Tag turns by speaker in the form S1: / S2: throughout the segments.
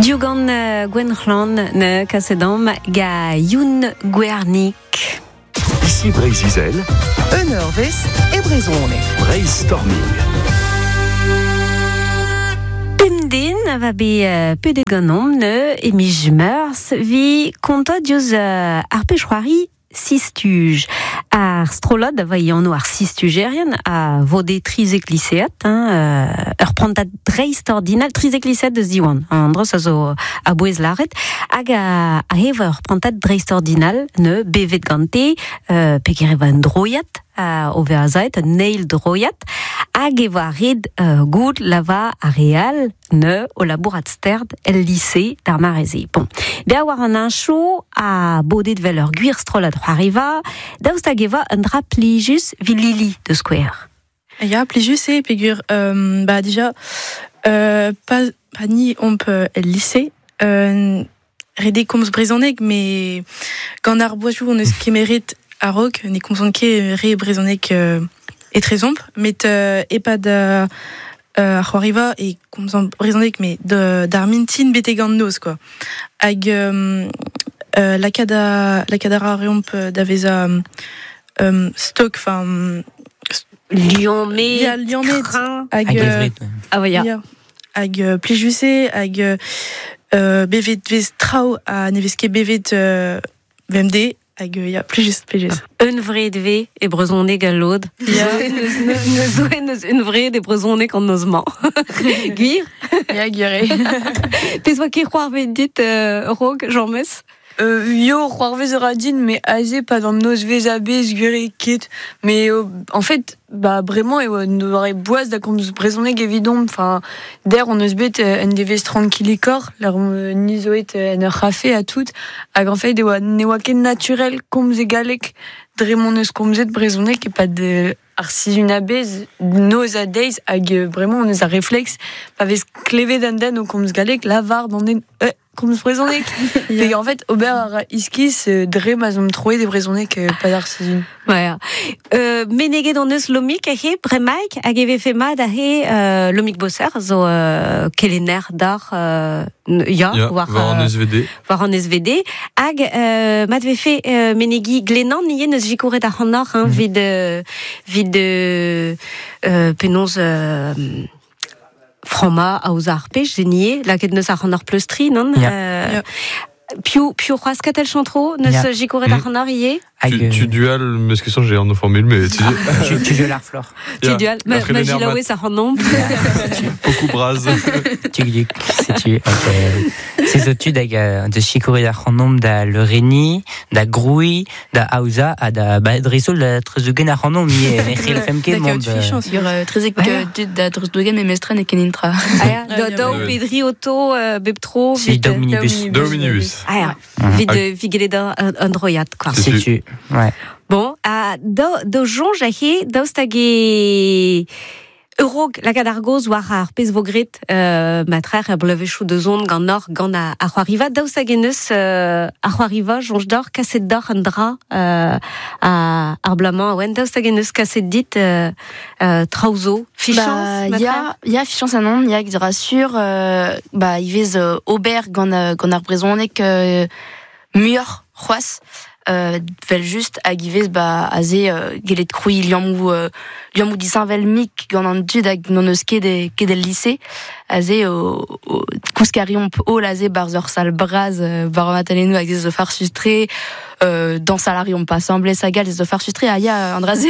S1: Diougan Gwenc'hlan ne kaset am ga Youn Gwernik.
S2: Ici Breizh-Izel.
S3: Un eurvezh e brezhoneg.
S2: Breizhstorming.
S1: Pemp den a va bet pedet ganeomp ne e miz Meurzh vi kontañ diouzh ar pezh-c'hoari Sistuj. Ar strollad a va e anv ar Sistujerien a vode 13 lisead, hein, ur prantad dreistordinal, 13 lisead eus Diwan, an dros a zo a-bouez lâret, hag a ev ur prantad dreistordinal ne bevet gante, peger e va un droiad, o vezañ aet, un eil droiad, hag e voa ret goût lava ar re all ne o labourat sterd el lise d'ar mare-se. Bon. Bezañ war an heñchoù ha bodet vel ur gwir strollad c'hoariva, daoust hag e va un dra plijus evit Lili, da skouer.
S4: Ya, plijus eo peogwir bah dija pa, pa ni omp el lise, ret eo komz brezhoneg, met gant ar boazioù hon eus kemeret a-raok, ne komzont ket re brezhoneg etrezomp, met e-pad ar c'hoariva e komzomp brezhoneg, met d'ar mintin betek an noz, quoi. Hag lakaat a, lakaat a ra reomp da vezañ stok, enfin...
S1: Liammet,
S4: Ya, liammet.
S1: Crin.
S4: Hag,
S5: Hag evret.
S1: Ah, ouais, ya.
S4: Ya. Hag plijus eo, hag bevet vez traoù ha ne vez ket bevet bemdez, hag ya, plijus, plijus.
S1: Un vred ve e brezhoneg al lod.
S4: Ya.
S1: Neus zo neus un vred e brezhoneg an noz-mañ. Gwir?
S6: Ya, gwir eo.
S1: Pezh oa ket c'hoarvezet dit, Rog, Jean-Mes?
S6: Yo, c'hoarvez a ra din, mais aze pad an nozvezh a-bezh, gwir eo ket. Mais en fait, bah, bremañ eo un doare boaz da komz brezhoneg evidomp. Enfin, der on eus bet un devezh tranquilikor, lar ni zo et en ur c'hafe ha tout. Hag en fait, e oa, ne oa ket naturel komz e galleg dre m'hon eus komzet brezhoneg e-pad ar sizhun a-bezh, noz ha deiz, hag bremañ on eus ar refleks, pa vez klevet an den o komz galleg, lavar d'an den komz brezhoneg.
S4: Ya.
S6: Pe en fait, ober a ra iskis dre ma 'z omp troet e brezhoneg pad ar sizhun.
S1: Ouais. Meneget hon eus Lomig aze, bremaik, hag e vefe mat aze Lomig Bosser zo kelenner d'ar ya,
S7: Ya,
S1: war,
S7: war an SVD.
S1: war an SVD. Hag mat vefe menegi Glenan ivez neus sikouret ac'hanoc'h, hein, vit penaos frammañ aozañ ar pech, zenier, lakaet neus ac'hanoc'h pleustri, non?
S5: Ya.
S4: Ya.
S1: Piv, piv c'hoazh Katell Chantreau neus
S5: Ya.
S1: sikouret ac'hanoc'h ivez?
S5: Hag,
S7: Tu, tu dual, meus ket soñj, j'ai an formule, mais tu
S5: tu, tu dual ar flor.
S1: Tu
S7: Ya.
S1: dual,
S7: Ar
S1: ma
S7: c'helenner mat.
S1: gilaouez ac'hanomp.
S7: Pokou braz.
S5: Tu du, setu, se zo tud hag de sikouret ac'hanomp da Lereni, da Grouy, da Aoza, ha da, ba, dreist-holl da Treuzougen ac'hanomp ivez, ne c'hellfemp ket
S4: Da
S5: mont,
S4: kaout fichañs.
S8: Ur trezek
S1: Ouais.
S8: dud da Treuzougen me mestren e ken intra.
S1: Ah, ya,
S4: Ah,
S1: da,
S4: ya.
S1: daou
S7: Ouais.
S1: pedri oto bep tro.
S5: Si,
S1: vit,
S5: daou minibus.
S7: Daou minibus.
S1: Ah, ya. Vit, vit gellet un droiad, quoi.
S7: Setu.
S5: Setu, ouais.
S1: Bon, ha daou, daou soñj aze, daoust hag e Eurog lakaat ar gaoz war ar pezh vo graet, matrer er bloavezhioù da zont gant or, gant ar c'hoariva. Daoust hag en eus ar c'hoariva, soñj deoc'h, kaset deoc'h un dra ar bloaz-mañ, oen, daoust hag en eus kaset dit traoù zo, fichañs,
S8: Bah,
S1: matrer?
S8: ya, ya, fichañs anon, ya, dra sur, bah, ivez ober gant ar brezhoneg muioc'h c'hoazh. Vel just hag ivez, bah, aze gellet krouiñ liammoù disheñvel mik gant an dud hag n'on eus ket e, ket el lise. Aze, o, o, kousk a reomp holl aze barzh ur sal bras bar an atalennoù hag ez zo farsus-tre, dañsal a reomp asambles hag all ez zo farsus-tre, ha ya, an dra-se,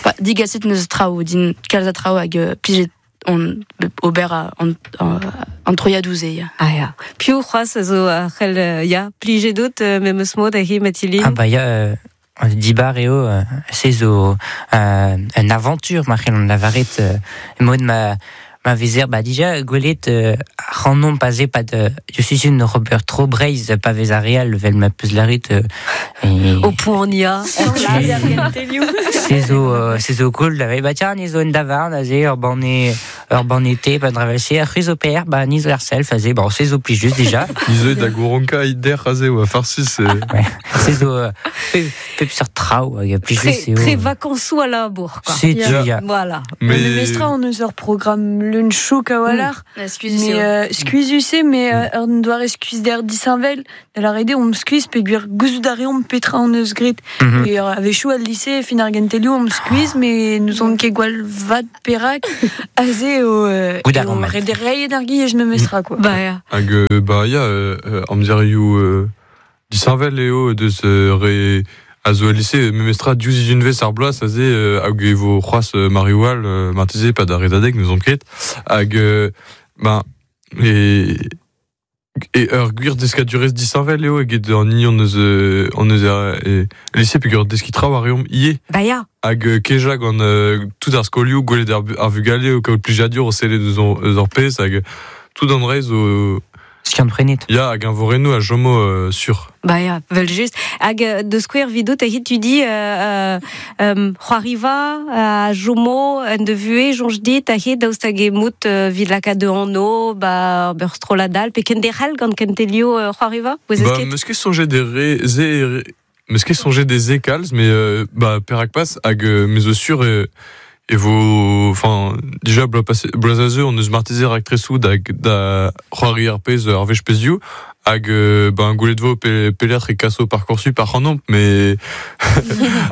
S8: ba, digaset neus traoù, din kalz a traoù hag plijet on ober a, an, an, an troiadoù se, ya.
S1: Ah, ya. Piv c'hoazh a zo a c'hell, ya, plijet out, memes mod aze, Mathilde?
S5: Ah, bah, ya, dibar eo, se zo un aventure, ma c'hell an lavaret, mod ma, ma vezer, bah, dija, gwelet, ac'hanomp aze pad, je suis une Robert Tro Breizh, pa vez ar real, vel ma peus laret, et
S1: Au point ya.
S5: Se zo, se zo cool, da bah, tiens, ni zo en davarn, aze, ur banne, ur banne thé, pa dravel se, ar c'hwiz o per, bah, ni zo ar self, aze, bon, se zo pli just déjà.
S7: Ni zo da Gouronka, ider, aze, oa farsus,
S5: Ouais. Se zo, pep seurt traoù hag
S1: Très,
S5: plijus eo.
S1: très vacances à la bourre, quoi.
S5: Setu,
S7: Ya.
S5: ya.
S1: Voilà.
S6: Mais
S7: Mais
S6: mestra on eus ur programme leun chouk a walc'h.
S8: Excusez
S6: Mais skuizus eo, mais ur doare skuiz der disheñvel, da la rede on skuiz peogwir gouzout a reomp petra on eus graet. Et a-wechoù al lycée, fin ar gentelioù on skuiz, mais nous on ket gwall vat perak, aze eo,
S5: Goût
S6: eo
S5: ar mat.
S6: ret reiet ar giej me mestra, quoi.
S1: Bah, ya.
S7: Hag ba ya amzerioù disheñvel eo deus re a zo el lycée memestra diouzh izunvez ar bloaz aze hag e vo c'hoazh Mariwal marteze pa da redadeg nous on ket hag ben e e ur gwir deskadurezh disheñvel eo eget an hini on eus e lycée peogwir deskiñ traoù a reomp ivez.
S1: Bah, ya.
S7: Hag keja gant tout ar skolioù gwelet ar vugale o kaout plijadur o sellet eus eus ar pezh hag tout an dra zo
S5: Skiant prenet.
S7: Ya, hag un vorennoù a jomo sur.
S1: Bah ya, vel just. Hag de square vidot, a hit tu di c'hoariva, a jomo, en de vue, jonj dit, a hit daoust hag e mout vid laka de anno, ba ur stroladal, pe kenderc'hel gant kentelio c'hoariva, vous
S7: Ba,
S1: esket?
S7: meus ket soñjet des re, ze, meus ket soñjet des ze kalz, mais ba, perak pas, hag me zo sur e vo, enfin, déjà, bloaz passé, bloaz a zeu, on eus marteze raktresoù da, da c'hoari ar pezh ar wech pezhioù, hag ben, gwelet vo pelec'h e kaso Parcoursup ar c'hanomp, mais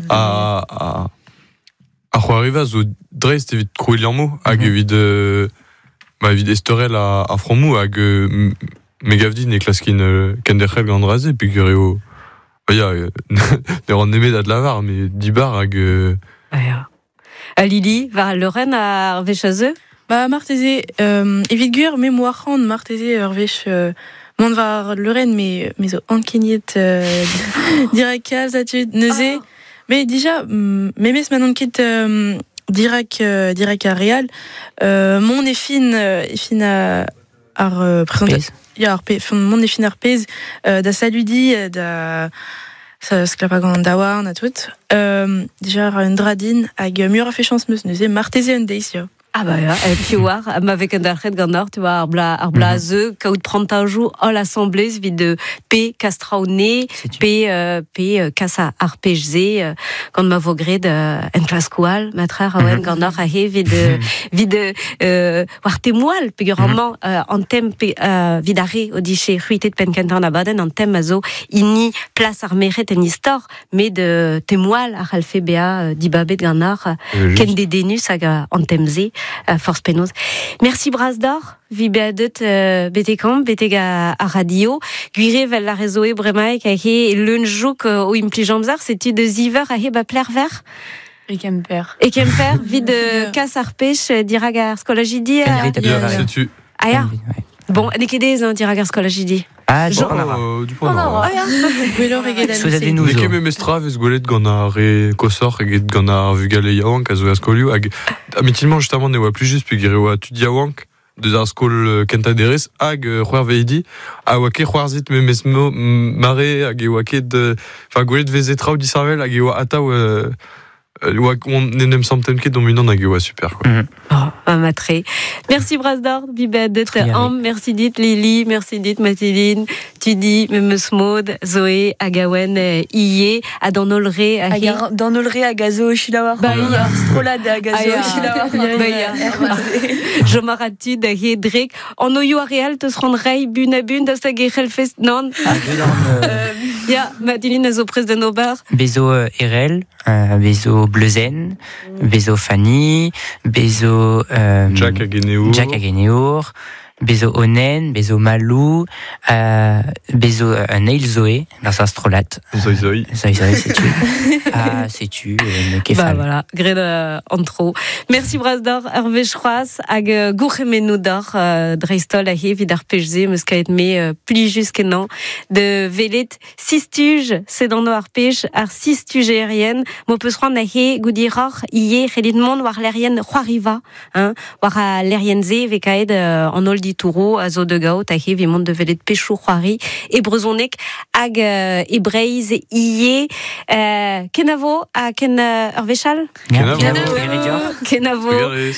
S7: a c'hoariva zo dreist evit krouiñ liammoù, hag evit ba, evit estorel a fromoù, hag me gav din e klaskin kenderc'hel gant dra-se, peogwir eo, ba ya, ne ran nemet ad lavar, mais dibar hag
S1: Bah ya. A Lili, war Lorraine ar wech a zeu?
S4: Ba, marteze, evit gwir, me moa c'hant marteze ur wech mont war Lorraine, me zo ankeniet dirak kalz a tud neuze. Mais déjà, memes ma n'on ket dirak ar real, mon e fin, e fin a, ar présenta-
S5: Pezh.
S4: Ya, ar pe, fin, mon e fin ar pezh, da saludi, da sa sklapa gant daouarn a tout. Déjà ar un dradin hag mur a fait chance meus neuze marteze un deiz, ya.
S1: Ah bah ya, et puis war, ma vek an dalc'het gant ar, tu vois, ar bla, ar bla ze, kaout prantajou, all assemblée, vid de P kastraoné,
S5: Setu.
S1: P, P kas ar pej ze, gant ma vo graet en klaskoal, matrer a oen gant ar a he vid, vid war temoal, peogwir amañ, an tem pe, vid ar re o diche c'hwitet penn kentañ an abadenn, an tem a zo hini plas ar merc'hed en istor, met de temoal ar c'hallfe bezañ dibabet gant ar, ken dedennus hag an tem ze, forz penaos. Merci bras d'or, vi bezañ deut betek amañ, betek a radio. Gwir vel la rezoe bremaik a he leun jouk o implij amzer, setu de ziver a he ba pler ver.
S6: E Kemper.
S1: E Kemper, vid
S4: Ya.
S1: kas ar pech dirag ar skolajidi.
S5: Kenvit a
S4: Ya,
S5: ya.
S7: Setu.
S1: Ah ya.
S5: Kenvit, ouais.
S1: Bon, n'eo ket aes, hein, dirag ar skolajidi.
S5: Ah,
S1: Jean-
S5: du pont
S7: Oh, du pont ar
S1: Ah ya.
S4: Gwelloc'h eget al
S5: Souezhadennoù
S4: lycée.
S5: zo.
S7: N'eo ket memestra vez gwelet gant ar re kosoc'h eget gant ar vugale yaouank a zo er skolioù hag amitimement justement ne oa plus just peogwir e oa tud yaouank deus ar skol kentañ derez hag c'hwerveidi a oa ket c'hoarzhit memes mare hag e oa ket enfin gwelet veze traoù disheñvel hag e oa atav oa on n'en em santen ket d'hon unan hag e oa super quoi.
S1: Oh, un matre. Merci Brasdor, bibet de
S5: Très bien.
S1: Am, merci dit Lily, merci dit Mathilde, Tudi, Memes Maud, Zoé, Agawen, Ié, Adan Olre,
S6: Hag ar d'an olre hag a zo chilawar.
S1: Bah, ya.
S6: Ar strolad hag a zo
S1: Ah, ya.
S6: chilawar.
S1: Bah, ya. Jomaratud, he drek. An oio a real, teus ran rei, bun a bun, da stag e c'hellfest, nan. Ya, Mathilde a zo prest d'an ober.
S5: Bezo Erel, bezo Bleuzen, bezo Fanny, bezo
S7: Jack hag Eneour.
S5: Jack hag Eneour, bezo Onen, bezo Malou, bezo un eil Zoé, dans sa strolat.
S7: Zoi zoi.
S5: Zoi zoi, setu. Ah, setu, ne
S1: Bah
S5: kefal.
S1: voilà, graet an tro. Merci Brasdor, Hervé Chroas, hag gourc'hemennoù d'or dreistol a he vid ar pej-se, meus kaet me plijus kenañ de velet sistuj, sed an ar pej, ar sistuj aérienne, mo peus c'hoant a he goudiroc'h ie c'hellit mont war lerien c'hoariva, hein, war a lerien ze ve kaet an holl ditouro a zo de gaout a he vi mont de velet pechou c'hoari e brezhoneg hag e Breizh ie kenavo ha ken ur wechal?
S5: Kenavo.
S7: Kenavo.
S5: Kenavo.
S1: Kenavo.
S7: Trugarez.